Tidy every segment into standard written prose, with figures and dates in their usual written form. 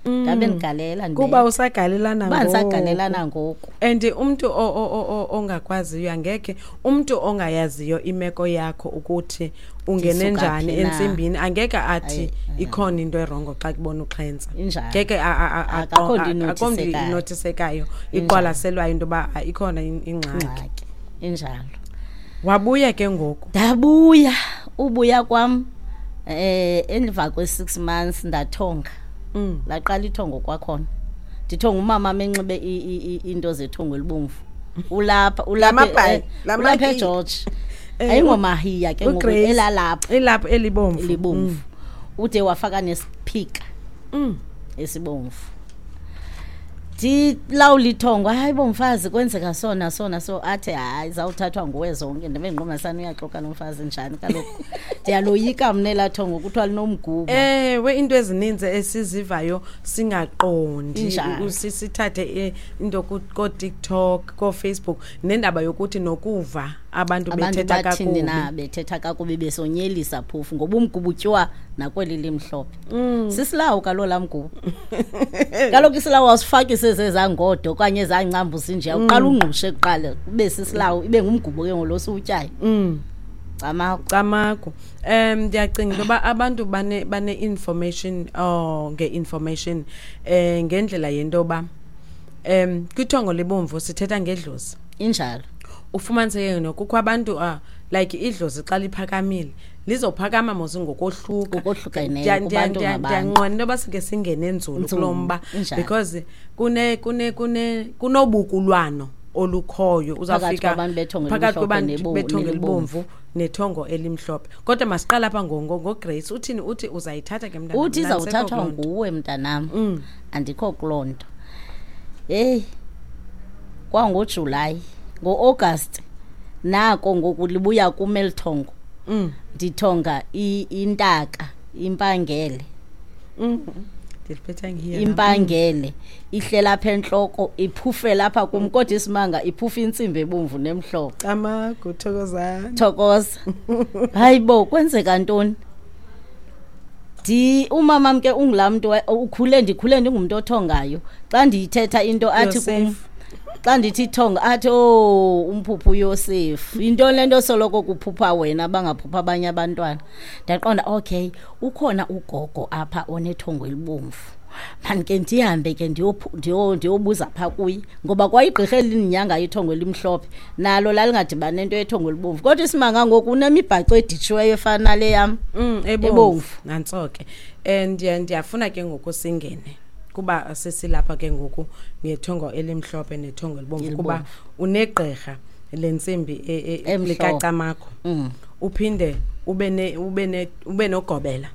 Ndabe ndigalela Kuba usagalelana. Kuba ndisagalelana ngoku. And umntu ongakwaziyo angekhe, umntu ongayaziyo imeko yakho ukuthi ungene Ndisuka njani phi na? entsimbini, angeke athi ikhona into erongo xa kubona uxhentsa. Injalo. Ngeke Akakho nto akho nto inotisekayo. inotisekayo, Injalo. iqwalaselwayo into yoba ikhona ingxaki. Ingxaki. Injalo. Wabuya ke ngoku? Ndabuya. Ubuya kwam emva kwe-6 months ndathonga. Laqala ithongo kwakhona. Ndithonga umama amenxibe into zethongo elibomvu. Ulapha, ulapha, Lamabhayi, ulapha lamahiya. eGeorge. Ayingomahiya ke ngoku, uGrace. elalapha. Elapha elibomvu. Elibomvu. Ude wafaka nesiphika. Esibomvu. Ndilawula ithongo, hayi bo mfazi, kwenzeka sona sona so, athi hayi zawuthathwa nguwe zonke. Ndibe ndiqonda sana uyaxoka lo mfazi njani kaloku. Ndiyaloyika mna elaa thongo kuthiwa linomgubo. Ewe, into ezininzi esizivayo singaqondi. Injalo. Sithathe into kooTikTok, kooFacebook, nendaba yokuthi nokuva abantu Abantu bethetha bathini na, kakubi. bethetha kakubi besonyelisa phofu ngoba umgubo utyiwa nakweli limhlophe. Sisilawu kaloku laa mgubo. Kaloku isilawu awusifaki sezezangodo okanye ezancambu zinje, uqala ungqushe kuqala kube sisilawu, ibe ngumgubo ke ngolo siwutyayo. Camagu. Camagu. Ndiyacinga into yoba abantu bane information, oh, nge-information, ngendlela yento yoba, kwithongo lebomvu sithetha ngedlozi. Injalo. Ufumaniseke nokukho abantu, like idlozi xa liphakamile lizophakama mos ngokohluka. Ngokohlukeneyo kubantu ngabantu. Ndiyanqwena into yoba sike singene nzulu Nzulu, kulo mba, injalo. because kunobukulwano olukhoyo. Phakathi Uzawufika kwabantu bethongo phakathi elimhlophe kwabantu bethongo nelibomvu. elibomvu nethongo elimhlophe. Kodwa masiqale apha ngoGrace. Uthini? Uthi uzayithatha ke mntanam? Uthi Mna andisekho izawuthathwa kuloo nto. nguwe mntanam. Andikho kuloo nto. Heyi, kwangoJulayi, ngo-August nako ngoku libuya kum eli thongo. Ndithonga intaka, impangele. Ndiliphethe ngiye nam. Impangele ihlela apha entloko, iphufe lapha kum, kodwa isimanga iphufe intsimbi ebomvu nemhlophe. Camagu, thokozani. Thokoza. Hayi bo, kwenzeka ntoni? Umamam ke ungulaa mntu ukhule, ndikhule ndingumntu othongayo. Xa ndiyithetha into athi kum, Yosefu. xa ndithi thonga athi, oh, umphuphu uYosefu. Yintoni le nto soloko kuphupha wena bangaphupha abanye abantwana? Ndaqonda, okay, ukhona ugogo apha onethongo elibomvu. Mani ke ndihambe ke ndiyobuza phaa kuye, ngoba kwayigqirha elindinyanga ithongo elimhlophe nalo lalingadibani nento yethongo elibomvu. Kodwa isimanga ngoku unemibhaco editshiweyo efana nale yam. Ebomvu. Ebomvu. Nantso ke. Ndiyafuna ke ngoku singene kuba sesilapha ke ngoku ngethongo elimhlophe nethongo elibomvu, Elibomvu. kuba unegqirha lentsimbi Emhlophe. likaCamagu. Uphinde ube nogobela.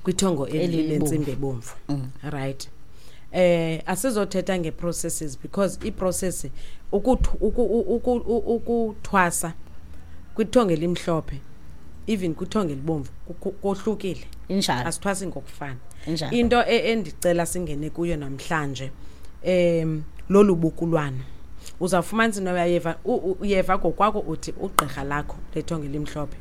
Kwithongo Elibomvu. lentsimbi ebomvu. Right. Asizothetha ngeprocesses because iprocess ukuthwasa kwithongo elimhlophe even kwithongo elibomvu kohlukile. Injalo. Asithwasi ngokufana. Injalo. Into endicela singene kuyo namhlanje, lolu bukulwana. Uzawufumanisa into uyeva, uyeva ngokwakho uthi ugqirha lakho lethongo elimhlophe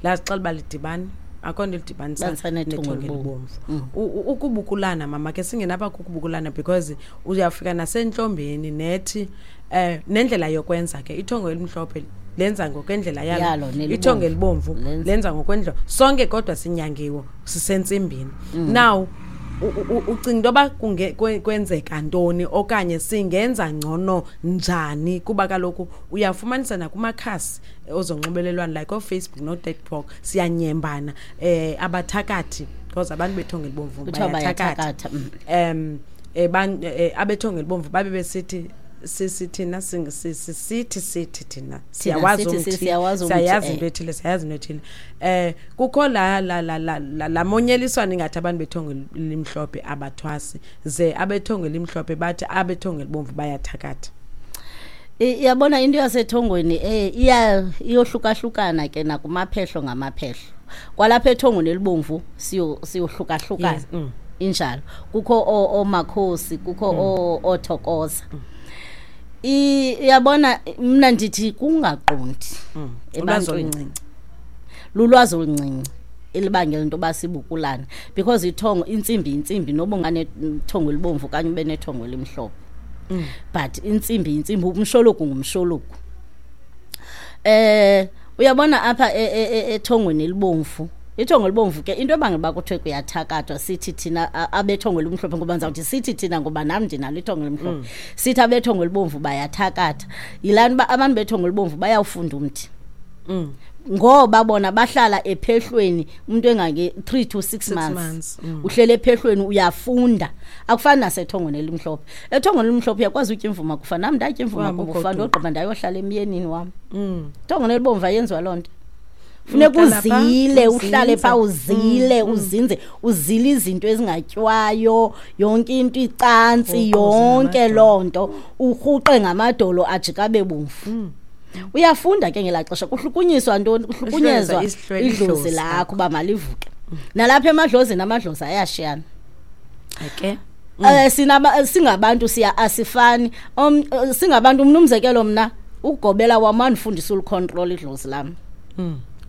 lazixela uba lidibani, akho nto lidibanisa Banisa nethongo nethongo elibomvu. elibomvu. Ukubukulana mama ke singenapha kukubukulana because uyafika nasentlombeni nethi, nendlela yokwenza ke ithongo elimhlophe lenza ngokwendlela yalo. Yalo, nelibomvu. Ithongo elibomvu Lenza. lenza ngokwendlela. Sonke kodwa sinyangiwe sisentsimbini. Now ucinga into yoba kwenzeka ntoni okanye singenza ngcono njani, kuba kaloku uyafumanisa nakumakhasi ozonxibelelwano like ooFacebook nooTikTok siyanyembana, abathakathi, because abantu bethongo elibomvu Kuthiwa bayathakatha. bayathakatha. Abethongo elibomvu babe besithi sisi thina sing-, sisi, sithi, sithi thina. Thina Siyawazi sithi, umthi, siyawazi umthi, siyayazi into ethile, siyayazi into ethile. Kukho la monyeliswano ingathi abantu bethongo elimhlophe abathwasi, ze abethongo elimhlophe bathi abethongo elibomvu bayathakatha. Iyabona into yasethongweni, iyohlukahlukana ke nakumaphehlo ngamaphehlo. Kwalapha ethongweni elibomvu siyohlukahlukana. Yes. Injalo. Kukho oomakhosi, kukho oothokoza. Uyabona mna ndithi kungaqondi Ulwazi ebantwini. oluncinci. Lulwazi oluncinci Elibangela into yoba sibukulane, because ithongo, intsimbi yintsimbi, noba unganethongo elibomvu okanye ube nethongo elimhlophe, but intsimbi yintsimbi, umshologu ngumshologu. Uyabona apha ethongweni elibomvu, ithongo elibomvu ke, into ebangela uba kuthiwe kuyathakathwa, sithi thina abethongo elimhlophe, ngoba ndizawuthi sithi thina ngoba nam ndinalo ithongo elimhlophe, sithi abethongo elibomvu bayathakatha, yilaa nto uba abantu bethongo elibomvu bayawufunda umthi. Ngoba bona bahlala ephehlweni umuntu engange 3 to 6 6 months. Months. Uhlele ephehlweni uyafunda, akufani nasethongweni elimhlophe. Ethongweni elimhlophe uyakwazi utya imvuma kufa, nam ndatya imvuma Wahamba kufa, ugoduka. ndogqiba ndayohlala emyenini wam. Ithongweni elibomvu ayenziwa loo nto, funeka Uhlala phaa, uzile, uhlale phaa, uzinze. Uzile, uzinze, uzile izinto ezingatywayo, yonke into, icantsi, Urhuquze yonke ngamadolo. Loo nto, urhuqe ngamadolo ajika abe bomvu. Uyafunda ke ngelaa xesha, kuhlukunyiswa ntoni? Kuhlukunyezwa Isihlwele, idlozi idlozi lakho uba malivuke. Nalapha emadlozini, amadlozi ayashiyana. Singabantu siya asifani. Singabantu, mna umzekelo, mna ugobela wam wandifundisa ulicontrol idlozi lam.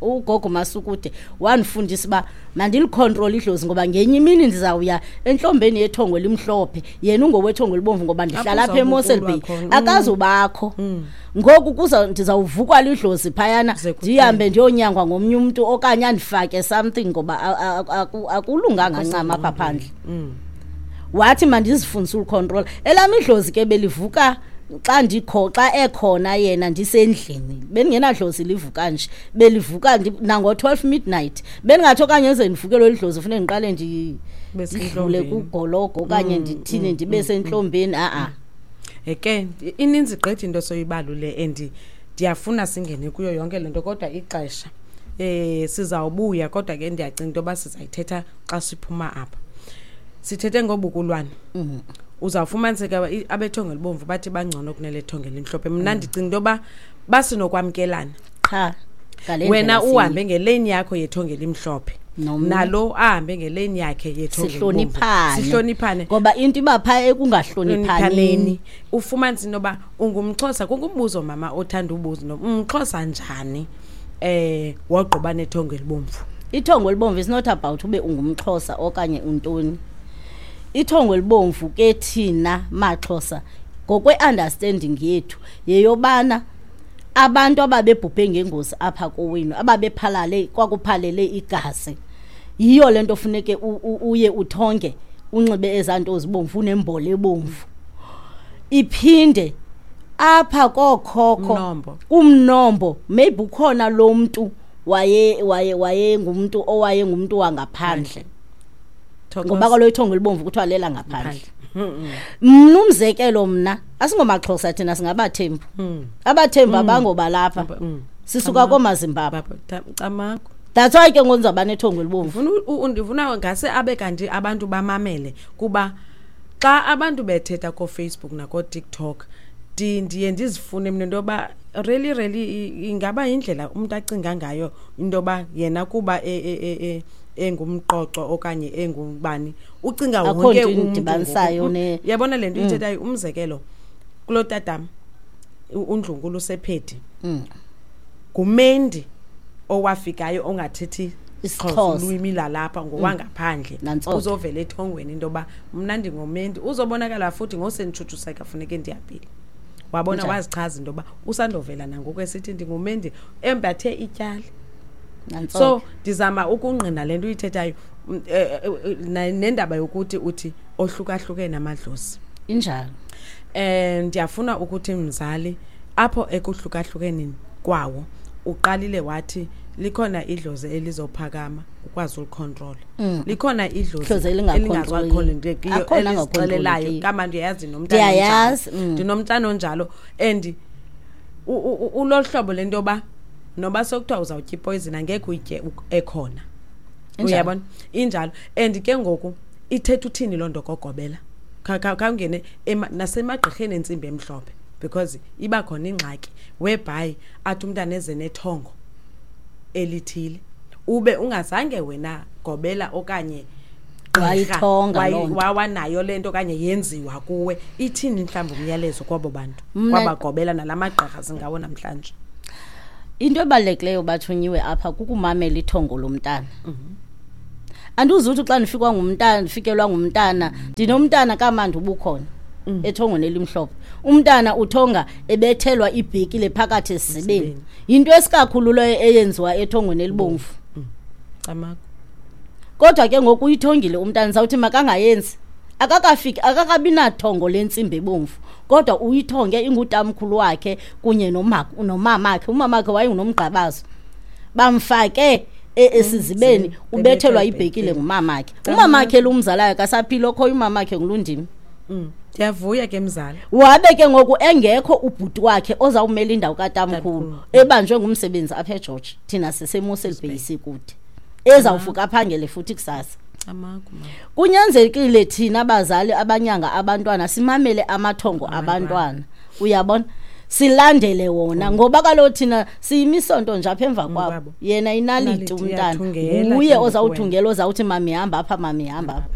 Ugogo Masukude wandifundisa uba mandilicontrol idlozi, ngoba ngenye imini ndizawuya entlombeni yethongo elimhlophe, yena ungowethongo elibomvu, ngoba ndihlala Apho apha eMossel uzawubukulwa Bay. khona. Akazubakho ngoku, kuza ndizawuvukwa lidlozi phayana, Kuze kutheni? ndihambe ndiyonyangwa ngomnye umntu okanye andifake something, ngoba akulunganga ncam apha phandle. Wathi mandizifundise ulicontrol elam idlozi ke. Belivuka xa ndikho, xa ekhona yena ndisendlini, bendingenadlozi livuka nje, belivuka nango-12 midnight. Bendingathi okanye eze ndivukelwe lidlozi funeke ndiqale Ube ndidlule sentlombeni. kugologo okanye ndithini, ndibe sentlombeni, a-a. Ke ininzi gqithi into soyibalule and ndiyafuna singene kuyo yonke le nto, kodwa ixesha sizawubuya, kodwa ke ndiyacinga into yoba sizayithetha xa siphuma apha. Sithethe ngobukulwane. Uzawufumaniseka abethongo elibomvu bathi bangcono kunelethongo elimhlophe. Mna ndicinga into yoba basinokwamkelana. Qha ngale Wena ndlela. Uhambe ngeleni yakho yethongo elimhlophe, Nomnye. nalo ahambe ngeleni yakhe yethongo elibomvu. Sihloniphane. Sihloniphane. Ngoba into iba phaa ekungahloniphaneni. Hloniphaneni. Ufumanise into yoba ungumXhosa, kungumbuzo mama othanda ubuza into, umXhosa njani wogqiba nethongo elibomvu? Ithongo elibomvu is not about ube ungumXhosa okanye untoni. Ithongo elibomvu ke, thina maXhosa, ngokwe-understanding yethu, yeyobana abantu ababebhubhe ngengozi apha kowenu, ababephalale, kwakuphalele igazi, yiyo le nto funeke uye uthonge, unxibe ezaa nto zibomvu, unembolo ebomvu. Iphinde apha kookhokho, Umnombo. Kumnombo, maybe ukhona lo mntu waye waye wayengumntu owayengumntu wangaphandle, ngoba kaloku ithongo elibomvu kuthiwa lela ngaphandle. Mna umzekelo, mna asingomaXhosa thina, singabaThembu. AbaThembu abangobalapha, sisuka koomaZimbabwe. Camago. That's why ke ngoku ndizawuba nethongo elibomvu. Ndifuna ndifuna ngase abe kanti abantu bamamele, kuba xa abantu bethetha kooFacebook nakooTikTok, ndiye ndizifune mna into yoba really really ingaba yindlela umntu acinga ngayo into yoba yena kuba engumqoco okanye engubani, ucinga Akho wonke nto umntu indibanisayo. ngoku. Uyabona le nto uyithethayo, umzekelo kuloo tatam undlunkulu usephedi, ngumendi owafikayo ongathethi isiXhosa. isiXhosa, ulwimi lalapha, ngowangaphandle. Nantso ke. Uzovela ethongweni into yoba mna ndingumendi, uzobonakala futhi ngosenditshutshuseka funeke ndihambile, wabona. Njani? Wazichaza into yoba usandovela nangoku esithi ndingumendi, embathe ityali. Nantso So ke. ndizama ukungqina le nto uyithethayo, nendaba yokuthi uthi ohlukahlukene amadlozi. Injalo. Ndiyafuna ukuthi mzali, apho ekuhlukahlukeneni kwawo, uqalile wathi likhona idlozi elizophakama ukwazi ulicontrol, likhona idlozi Idlozi elingacontroleki. elingacontrolekiyo, Akhona elizixelelayo. angacontrolekiyo. Kama ndiyayazi nomntana Ndiyayazi, onjalo. Ndinomntana onjalo and ulohlobo lento yoba noba sokuthiwa uzawutya ipoison angekhe uyitye ekhona. Injalo. Uyabona, injalo. And ke ngoku ithetha uthini loo nto kogobela? Khawungene nasemagqirheni entsimbi emhlophe, because iba khona ingxaki whereby athi umntana eze nethongo elithile, ube ungazange wena gobela okanye gqirha Wayithonga loo nto. wawanayo le nto okanye yenziwa kuwe. Ithini mhlawumbi umyalezo kwabo bantu, kwabagobela nala magqirha singawo namhlanje? Into ebalulekileyo, bathunyiwe apha, kukumamela ithongo lomntana. Andizuthi xa ndifikwa ngumntana, ndifikelwa ngumntana, ndinomntana kamandi ubukhona ethongweni elimhlophe. Umntana uthonga ebethelwa ibhekile phakathi esizibeni. Yinto esikakhulu leyo eyenziwa ethongweni elibomvu. Camagu. Kodwa ke ngoku uyithongile umntana, sawuthi makangayenzi. Akakafiki, akakabi nathongo lentsimbi ebomvu, kodwa uyithonge ingutamkhulu wakhe kunye nomamakhe. Umamakhe wayengunomgqabazo, bamfake esizibeni, ubethelwa ibhekile ngumamakhe. Umamakhe lo umzalayo akasaphila, okhoyo umamakhe ngulundimi. Ndiyavuya ke mzala. Wabe ke ngoku engekho ubhuti wakhe ozawumela indawo katamkhulu, ebanjwe ngumsebenzi apha eGeorge, thina siseMossel Bay sikude, ezawufuka aphangele futhi kusasa. Camagu, mama. Kunyanzelekile thina bazali abanyanga abantwana simamele amathongo abantwana, uyabona, silandele wona, ngoba kaloku thina siyimisonto nje apha emva kwabo. Kwabo. Yena inaliti Inaliti, umntana uyathungela nguye ke ngoku. Ozawuthungela, ozawuthi mami hamba apha, mami hamba apha.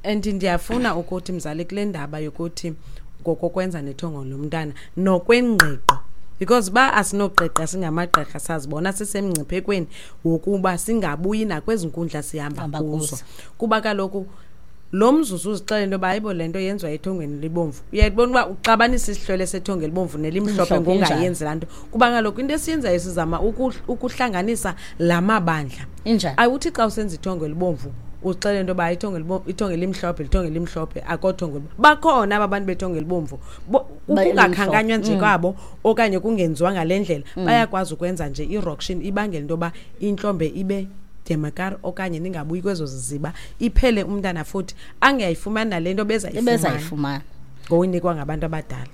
And ndiyafuna ukuthi mzali, kule ndaba yokuthi ngokokwenza nethongo lomntana nokwengqiqo, because ba asinoqiqa singamagqirha, sazibona sisemngciphekweni wokuba singabuyi nakwezi nkundla sihamba Hamba kuzo. kuzo. Kuba kaloku lo mzuzu uzixelela into yoba hayibo, le nto yenziwa ethongweni libomvu, uyayibona uba uxabanisa isihlwele sethongo elibomvu nelimhlophe. Limhlophe. Ngongayenzi laa nto, kuba kaloku into esiyenzayo sizama ukuhlanganisa la mabandla. Injani? Awuthi xa usenza ithongo elibomvu uxele into yoba ithongo elimhlophe lithongo elimhlophe, akothongo bakhona aba bantu bethongo elibomvu. Ukungakhankanywa nje kwabo okanye kungenziwa ngale ndlela, bayakwazi ukwenza nje iroction ibangela into yoba intlombe ibe demakar okanye ningabuyi kwezo ziziba, iphele umntana futhi angayifumani nale nto bezayifumana. Ebezayifumana. Ngokuyinikwa ngabantu abadala.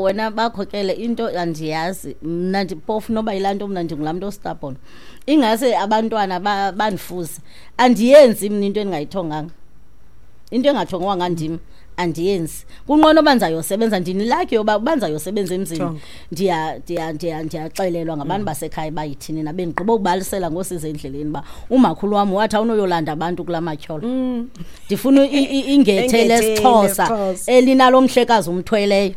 Wena bakhokele into andiyazi mna, ndiphofu noba yilaa nto, mna ndingulaa mntu ostubborn, ingase abantwana bandifuze. Andiyenzi mna into endingayithonganga, into engathongwanga ndim andiyenzi. Kunqono uba ndizayosebenza, ndinilakhi yoba uba ndizayosebenza emzini. Thongo. Ndiyaxelelwa ngabantu basekhaya bayithini na, bendigqiba ukubalisela ngosiza endleleni uba umakhulu wam wathi awunoyolanda abantu kulaa matyholo. Ndifuna ingethe Ingethe lesiXhosa lesiXhosa. elinalo mhlekazi umthweleyo.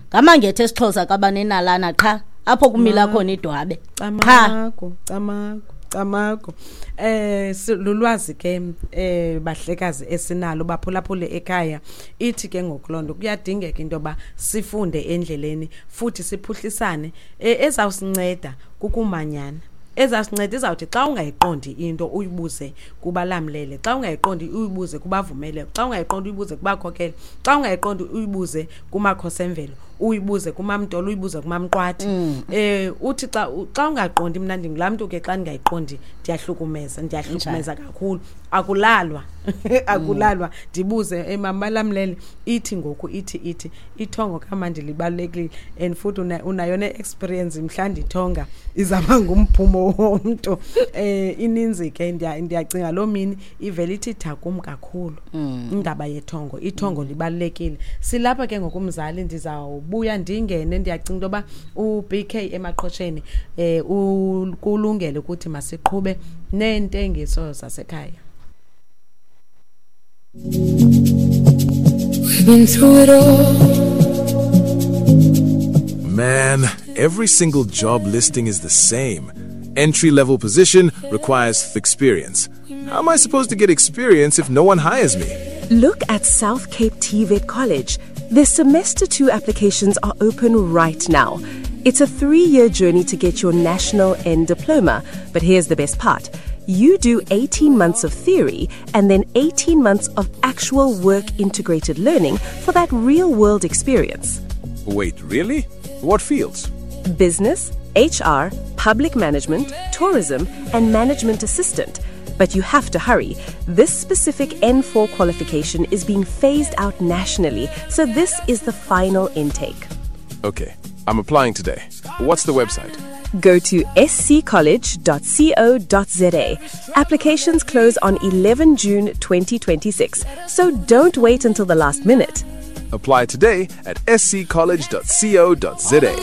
Ngamangethe esiXhosa kabanenalana qha apho kumila khona idwabe qha. Camagu, camagu, camagu. Lulwazi ke bahlekazi esinalo baphulaphule ekhaya. Ithi ke ngoku loo nto kuyadingeka into yoba sifunde endleleni futhi siphuhlisane. Ezawusinceda kukumanyana. Ezawusinceda izawuthi xa ungayiqondi into uyibuze kubalamlele, xa ungayiqondi uyibuze kubavumele, xa ungayiqondi uyibuze kubakhokele, xa ungayiqondi uyibuze kumakhosi emvelo, uyibuze kumamtolo, uyibuze kumamqwathi. Uthi xa ungaqondi, mna ndingulaa mntu ke xa ndingayiqondi ndiyahlukumeza, ndiyahlukumeza kakhulu. Akulalwa, akulalwa, ndibuze mama balamlele, ithi ngoku ithi ithongo kamandi libalulekile, and futhi unayo ne-experience mhla ndithonga izawuba ngumphumo womntu. Ininzi ke, ndiyacinga loo mini ivele ithi tha kum kakhulu indaba yethongo. Ithongo libalulekile. Silapha ke ngokumzali, ndizawubuya ndingene. Ndiyacinga into yoba u-BK emaqhosheni kulungele ukuthi masiqhube neentengiso zasekhaya. We've been through it all. Man, every single job listing is the same. Entry level position requires experience. How am I supposed to get experience if no one hires me? Look at South Cape TVET College. Their semester 2 applications are open right now. It's a 3-year journey to get your national N diploma, but here's the best part. You do 18 months of theory and then 18 months of actual work integrated learning for that real world experience. Wait, really? What fields? Business, HR, public management, tourism, and management assistant. But you have to hurry. This specific N4 qualification is being phased out nationally, so this is the final intake. Okay, I'm applying today. What's the website? Go to sccollege.co.za. Applications close on 11 June 2026, so don't wait until the last minute. Apply today at sccollege.co.za.